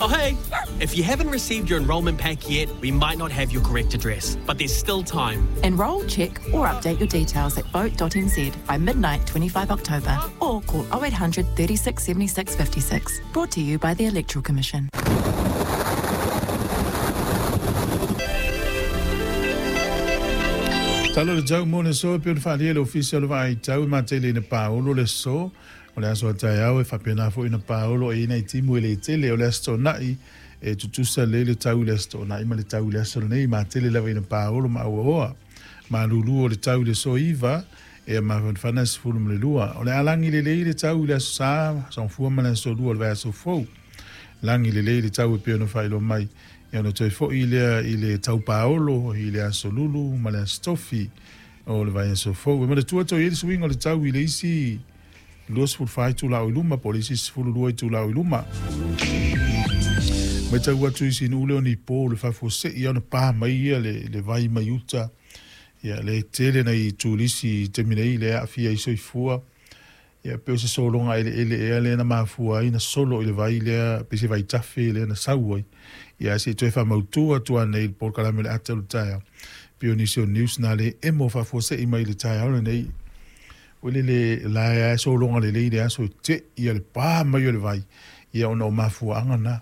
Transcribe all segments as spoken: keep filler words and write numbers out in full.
Oh, hey! If you haven't received your enrolment pack yet, we might not have your correct address, but there's still time. Enrol, check, or update your details at vote dot n z by midnight twenty-five October or call oh eight hundred thirty-six seventy-six fifty-six. Brought to you by the Electoral Commission. Talo le tau mo le so pe o le whaalia le ofisi o le vaai tau ma tele ina paolo le so o le aso atai au e whapena fo ina paolo e ina i timu e le tele o le aso nai e tutusa le le tau le aso nai ma le tau le aso nei ma tele lava ina paolo ma aua oa ma lulu o le tau le so iva e ma whanfana sifulu ma le lua o le alangi le le le tau le aso sa sa mfua ma le aso lua o le vai aso fou langi le le le tau e pe ono whailo mai ia ona toe fo'i lea i le taupaolo i le aso lulu ma le aso tofi o le vaiaso fou. E manatua toe i ai le suiga o le tau i le isi luasefulufa itulā o i luma po o le isi sefululua itulā o i luma. Matau atu i sinu'u lea o nipo le faafuase'i ona pā mai ia le, le vai mai uta ia le tele nai tulisi i taimi nei le aafia ai soifua ia pe o se sologa eleele ea lea na mafua ai na solo i le vai lea pe se vaitafe lea na sau ai ia se toe faamautū atu anei le polokalame o le ata o le taeao pe o nisi o news na le emo faafuase'i mai le taeao lenei o le le lae ae sologa lelei le aso e te'i ia le pā mai o le vai ia ona o mafuaaga na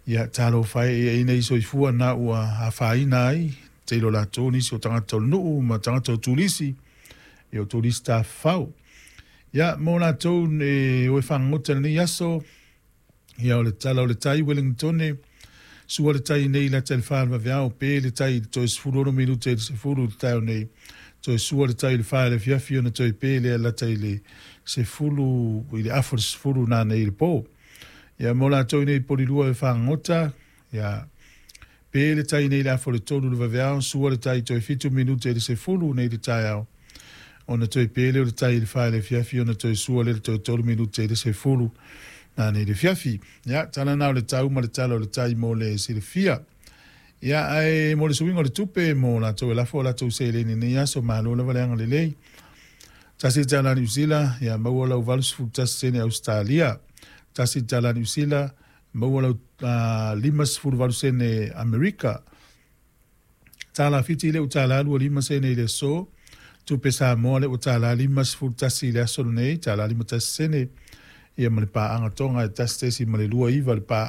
ia talofa e ia ina i soifua na ua afaina ai tele o latou nisi o tagata o le nuu ma tagata o tulisi ia o tulisi tafafao ia mo latou e o e fagagota lenei aso ia o le tala o le tai Wellingtone sua le tai nei lata i le fa le vaveao pe le tai i le toe sefulu ono minute i le sefulu le taeao nei toe sua le tai i le fa i le afiafi ona toe pe lea lata i le sefulu i le afa o le sefulu nanei i le pō ia mo latou nei polilua e fagagota ia pe le tai nei le afa o le tolu le vaveao sua le tai toe fitu minute i le sefulu nei le taeao ona toe pele o le tai i le fa i le afiafi ona toe sua le le toe tolu minute i le sefulu nanei le afiafi. Ia tala na o le tau ma le tala o le tai mo le silafia. Ia ae mo le suiga o le tupe mo latou e lafo o latou seleni nei aso malo lava le agalelei. Tasi tala Niu Sila, ia maua lau valusefulu tasi sene Australia. Tasi tala Niu Sila, maua lau uh, limasefulu valu sene Amerika. Tala fiti le utala lua lima sene i le aso. Tupe Samoa le ua tala limasefulu tasi i le aso lenei, tala lima tasi sene. Ia ma le paaga toga e tasi tesi ma le lua iva le paaga.